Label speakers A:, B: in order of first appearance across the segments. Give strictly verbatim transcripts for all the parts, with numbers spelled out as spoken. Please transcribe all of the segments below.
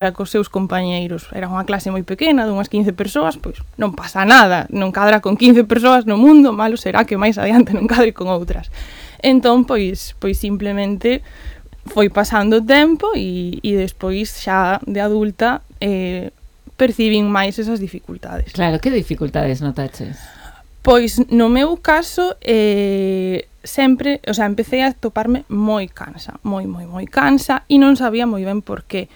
A: cos seus compañeiros. Era unha clase moi pequena, dunhas quince persoas, pois non pasa nada, non cadra con quince persoas no mundo, malo será que máis adiante non cadre con outras. Entón, pois, pois simplemente foi pasando o tempo e, e despois xa de adulta eh, percibín máis esas dificultades.
B: Claro, que dificultades notaches?
A: Pois no meu caso eh, sempre, o sea, empecé a toparme moi cansa, moi, moi, moi cansa e non sabía moi ben por qué.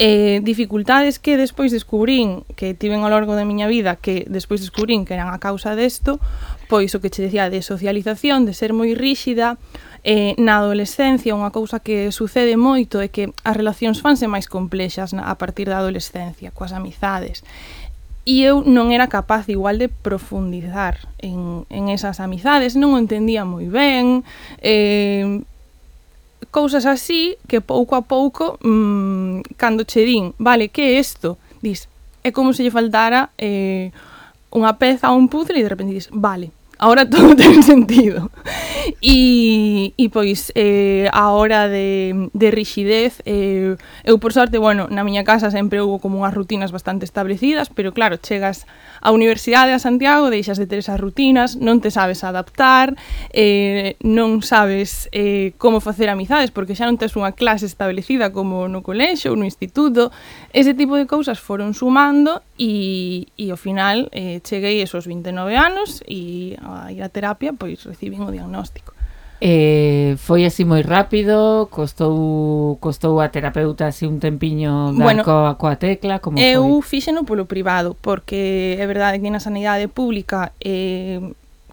A: Eh, dificultades que despois descubrín que tiven ao longo da miña vida, que despois descubrín que eran a causa desto, pois o que che decía de socialización, de ser moi ríxida. Eh, na adolescencia unha cousa que sucede moito é que as relacións fanse máis complexas na, a partir da adolescencia, coas amizades. E eu non era capaz igual de profundizar en, en esas amizades, non o entendía moi ben, eh, cousas así que pouco a pouco, mmm, cando che din, vale, que é isto? Dis, é como se lle faltara eh, unha peza a un puzzle e de repente dis, vale, ahora todo ten sentido. E, e pois, eh, a hora de, de rixidez, eh, eu por sorte, bueno, na miña casa sempre houve como unhas rutinas bastante establecidas, pero claro, chegas á Universidade a Santiago, deixas de ter esas rutinas, non te sabes adaptar, eh, non sabes eh, como facer amizades, porque xa non tes unha clase establecida como no colexo ou no instituto. Ese tipo de cousas foron sumando e, e ao final eh, cheguei esos vinte e nove anos e a ir a terapia, pois recibín o diagnóstico.
B: Eh, foi así moi rápido, costou costou a terapeuta así un tempiño dar bueno, coa, coa tecla, como
A: eu
B: foi?
A: Eu fíxeno polo privado, porque é verdade que na sanidade pública eh,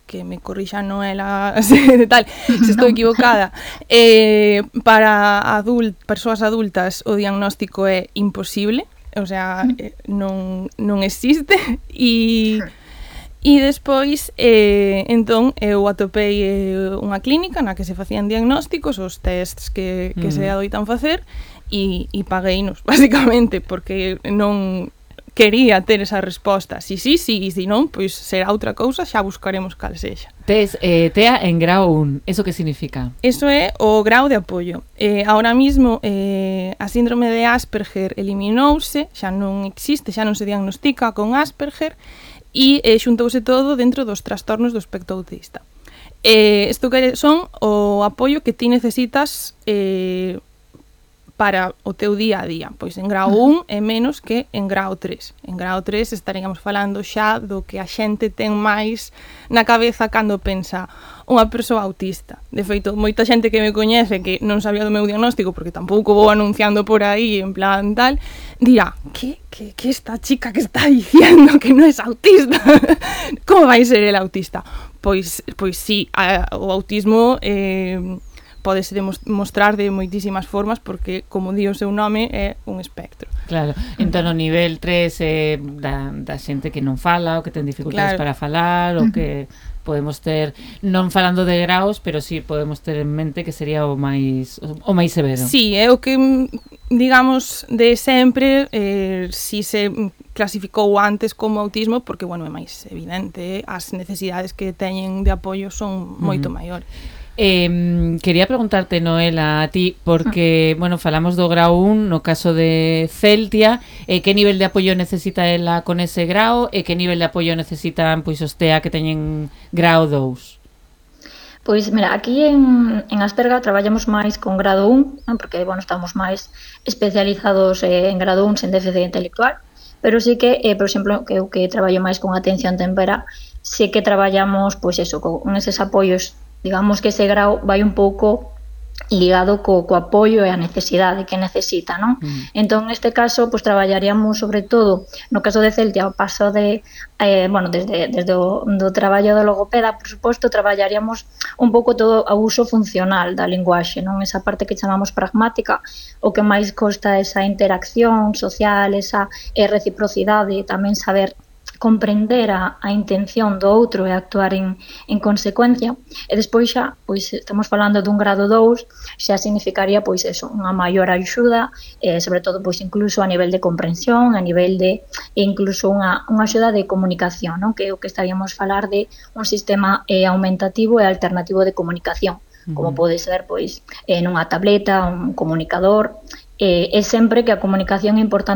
A: que me corrixa Noela de tal, se estou equivocada, eh, para adult, persoas adultas o diagnóstico é imposible, o sea, eh, non, non existe e E despois, eh, entón, eu atopei eh, unha clínica na que se facían diagnósticos, os tests que, que mm. se adoitan facer, e, e pagueinos, basicamente, porque non quería ter esa resposta. Si sí, si, e si non, pois será outra cousa, xa buscaremos cal sexa.
B: Tes eh, T E A en grau un, eso que significa?
A: Eso é o grau de apoio. Eh, ahora mismo, eh, a síndrome de Asperger eliminouse, xa non existe, xa non se diagnostica con Asperger, e eh, xuntouse todo dentro dos trastornos do espectro autista. Eh, isto que son o apoio que ti necesitas eh, para o teu día a día. Pois en grau un é menos que en grau tres. En grau tres estaríamos falando xa do que a xente ten máis na cabeza cando pensa unha persoa autista. De feito, moita xente que me coñece que non sabía do meu diagnóstico, porque tampouco vou anunciando por aí en plan tal, dirá, que, que, que esta chica que está diciendo que non é autista? Como vai ser el autista? Pois, pois sí, a, o autismo eh, podese demostrar de moitísimas formas, porque, como di o seu nome, é un espectro.
B: Claro, entón o nivel tres é eh, da, da xente que non fala, ou que ten dificultades claro. para falar, ou que podemos ter, non falando de graus, pero sí podemos ter en mente que sería o máis o máis severo.
A: Sí, é o que, digamos, de sempre eh, si se clasificou antes como autismo, porque, bueno, é máis evidente, as necesidades que teñen de apoio son moito uh-huh. maiores.
B: Eh, quería preguntarte, Noela, a ti, porque, bueno, falamos do grau un, no caso de Celtia, eh, que nivel de apoio necesita ela con ese grau e que nivel de apoio necesitan pois os T E A que teñen grau dous?
C: Pois, mira, aquí en, en Asperga traballamos máis con grado un, ¿no? Porque, bueno, estamos máis especializados eh, en grado un sen déficit intelectual, pero sí que, eh, por exemplo, que eu que traballo máis con atención tempera, sí que traballamos, pois eso, con eses apoios, digamos que ese grau vai un pouco ligado co, co apoio e a necesidade que necesita, non? Mm. Entón, neste caso, pues, traballaríamos sobre todo, no caso de Celtia, o paso de, eh, bueno, desde, desde o do traballo do logopeda, por suposto, traballaríamos un pouco todo o uso funcional da linguaxe, non? Esa parte que chamamos pragmática, o que máis costa esa interacción social, esa eh, reciprocidade, tamén saber comprender a, a intención do outro e actuar en, en consecuencia, e despois xa, pois estamos falando dun grado dous, xa significaría pois eso, unha maior axuda, eh, sobre todo pois incluso a nivel de comprensión, a nivel de e incluso unha, unha axuda de comunicación, non? Que é o que estaríamos falar de un sistema eh, aumentativo e alternativo de comunicación, como pode ser pois eh, nunha tableta, un comunicador, eh, é sempre que a comunicación é importante